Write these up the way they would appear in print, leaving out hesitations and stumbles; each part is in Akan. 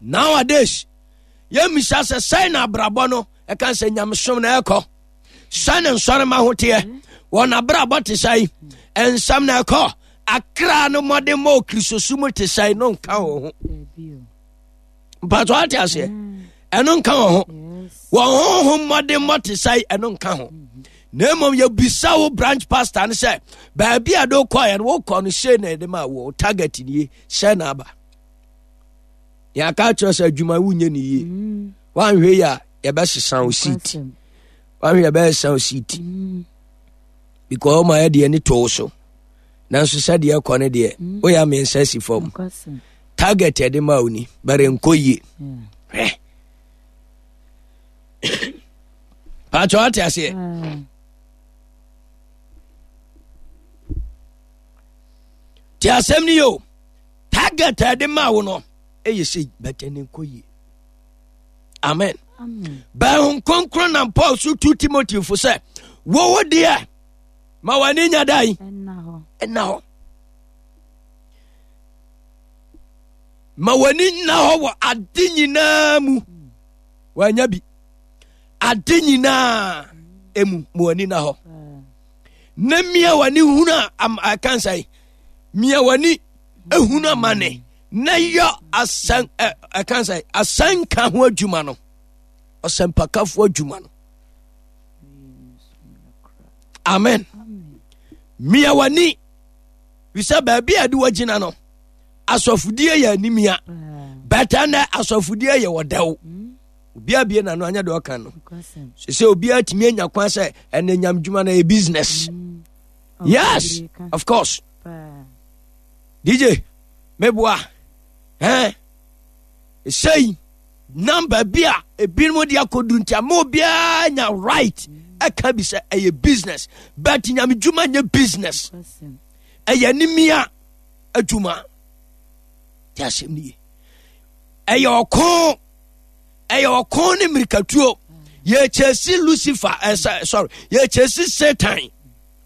Nowadays, yɛmmisa sɛ sɛn na abrabɔ no ɛka sɛ nyamesom na ɛkɔ, sɛn na nsɔrema ho teɛ, wɔn abrabɔ te sɛn, nsɛm na ɛkɔ, akra no mmɔden ma okristosu mu te sɛn no nka wɔn ho. Mpatɔ ate aseɛ, ɛno nka wɔn ho. Wɔn honhom mmɔden mmɔ te sɛn, ɛno nka ho. Na mmom yɛbisa wo branch pastor no sɛ baabi a de wokɔɛ no wokɔ no sei na ɛde ma wo target nie sɛ na aba. Yɛaka akyerɛ sɛ adwuma wonyɛ ne yie. Woanhwɛ yi a yɛbɛsesa wo seat. Woanhwɛ yɛbɛsesa wo seat. Because ɔma yɛ deɛ ne too so. Nanso sɛdeɛ ɛkɔ no deɛ woyɛ mmiɛnsa asi fam. Target ɛde ma wo ni bɛrɛ nkɔ yie. Hwɛ. Paatwa wate aseɛ. Te asɛm ni o. Target a ɛde maa wo no ɛyɛ sei bɛtɛ ne nkɔ yie. Amen. Bɛn ho kronkron nam Paul so tu Timothy fo sɛ wowo deɛ ma w'ani nya dan ɛna hɔ. Ma w'ani nna hɔ wɔ ade nyinaa mu. Wanya bi. Ade nyinaa emu ma w'ani nna hɔ. Na mia w'ani hunu a ɛka nsɛn. Mia w'ani ehunu amane na yɔ asɛn ɛ ɛka sɛ asɛnka ho adwuma no ɔsɛmpakafoɔ adwuma no. Amen. Mia w'ani fisɛ baabi a ɛde wagyina no asɔfodie yɛ animia bɛtɛ nɛ asɔfodie yɛ ɔdɛw. Obiara bie n'ano anyɛ deɛ ɔka no sɛ obiara tumi anya kwan sɛ ɛnɛ nyam dwuma no yɛ business. Yes, of course. DJ meboa eh sei number bi a ebinom de akɔdu nti ama obiara nya right ɛka bi sɛ ɛyɛ business, but nyame dwuma nyɛ business, ɛyɛ animia adwuma. Te asɛm no ye. Ɛyɛ ɔko, ɛyɛ ɔko ne mmirikatuo. Yɛkyɛsi Lucifer, sorry, yɛkyɛsi Satan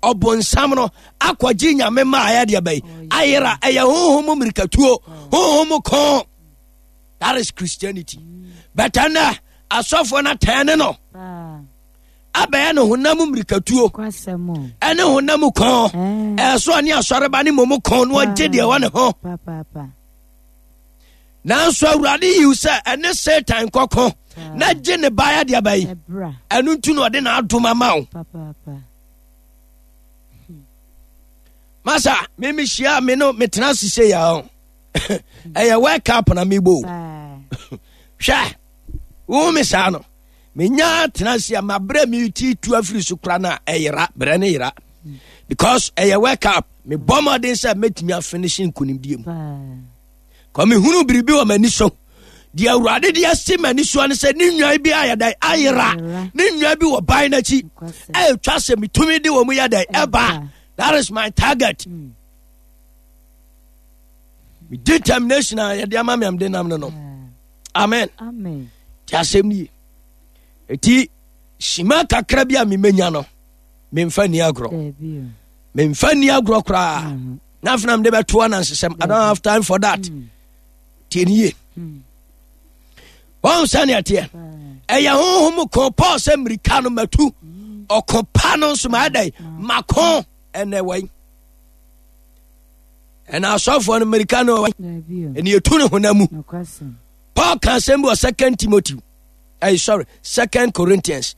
ɔbonsam no akɔgye nyame ma ayɛ deɛ bɛyi ayera. Ɛyɛ honhom mmirikatuo, honhom ko. That is Christianity. But ɛnɛ asɔfoɔ no atɛn ne no abɛyɛ no honam mmirikatuo ɛne honam kɔn. Ɛso ɔne asɔreba ne mmom kɔn no ɔgye deɛ wɔ ne ho. Nanso Awurade yiw sɛ ɛne Satan kɔko na gye ne baeɛ deɛ bɛyi. Ɛno nti na ɔde n'adom ama wo. Masa me mehyia me no metena ase sɛ yɛ ho ɛyɛ work up na mebɔ hwɛ wo me saa no menya tena ase a mabrɛ me ti tu afiri so kora no a ɛyera brɛ ne yera because ɛyɛ work up. Mebɔ mmɔden sɛ mɛtumi afinish nkonimdie mu kɔ mehunu biribi wɔ m'ani so. Deɛ Awurade de asi m'ani soɔ ne sɛ ne nnwan bi ayɛ dɛn ayera, ne nnwan bi wɔ ban no akyi ɛtwa sɛ metumi de wɔ mu yɛ dɛn ɛba. That is my target. Me determination a yɛde ama me amde nam no. Amen. Ti asɛm nie. Eti sima kakra bi a memenya no memfa ni agorɔ, memfa ni agorɔ koraa. Na afei na mede bɛto anansesɛm. I don't have time for that. Tie ne yie. Wɔn sɛnea teɛ ɛyɛ honhom ko. Paul sɛ mmirika no matu, ɔko pa no nso maa dɛn mako. Ɛnɛ wɔyi ɛna asɔfoɔ no mmirika no ɛne yɛtu ne honam mu. Paul ka asɛm bi wɔ Second Timothy, ɛyɛ sorry, Second Corinthians.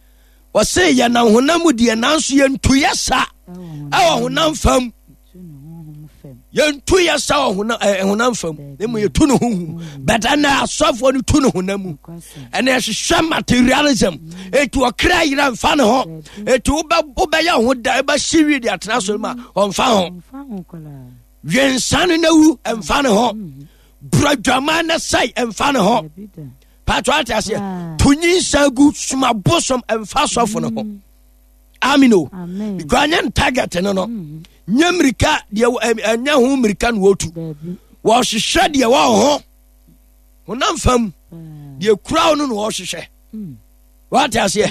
Wɔse yɛnam honam mu deɛ nanso yɛntu yɛ sa ɛwɔ honam fam. Yɛntu yɛ sa wɔ honam fam na mmom yɛtu ne honhom. But ɛnɛ asɔfoɔ no tu ne honam mu ɛnɛ ɛhwehwɛ materialism. Ɛti ɔkra yerɛ mfa ne ho. Ɛti wobɛyɛ ho da ɛbɛhye wie de atena so ma ɔmfa ho. Dwensa no na wu ɛmfa ne ho. Buradwama na sɛe ɛmfa ne ho. Paatwa ate aseɛ. To nyinsa gu soma bosom ɛmfa sɔfo no ho. Amen o. Because anyɛ no target no. Nyɛ mmirika deɛ ɛnyɛ ho mmirika na wɔtu. Wɔhwehwɛ deɛ wɔ ho honam fam deɛ kura wo no na wɔhwehwɛ. Wate aseɛ.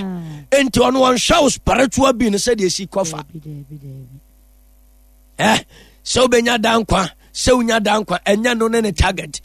Nti ɔno ɔnhwɛ wo spiritual being sɛdeɛ esi kɔfa. Sɛ wobɛnya da nkwa, sɛ wonya da nkwa ɛnyɛ no ne ne target.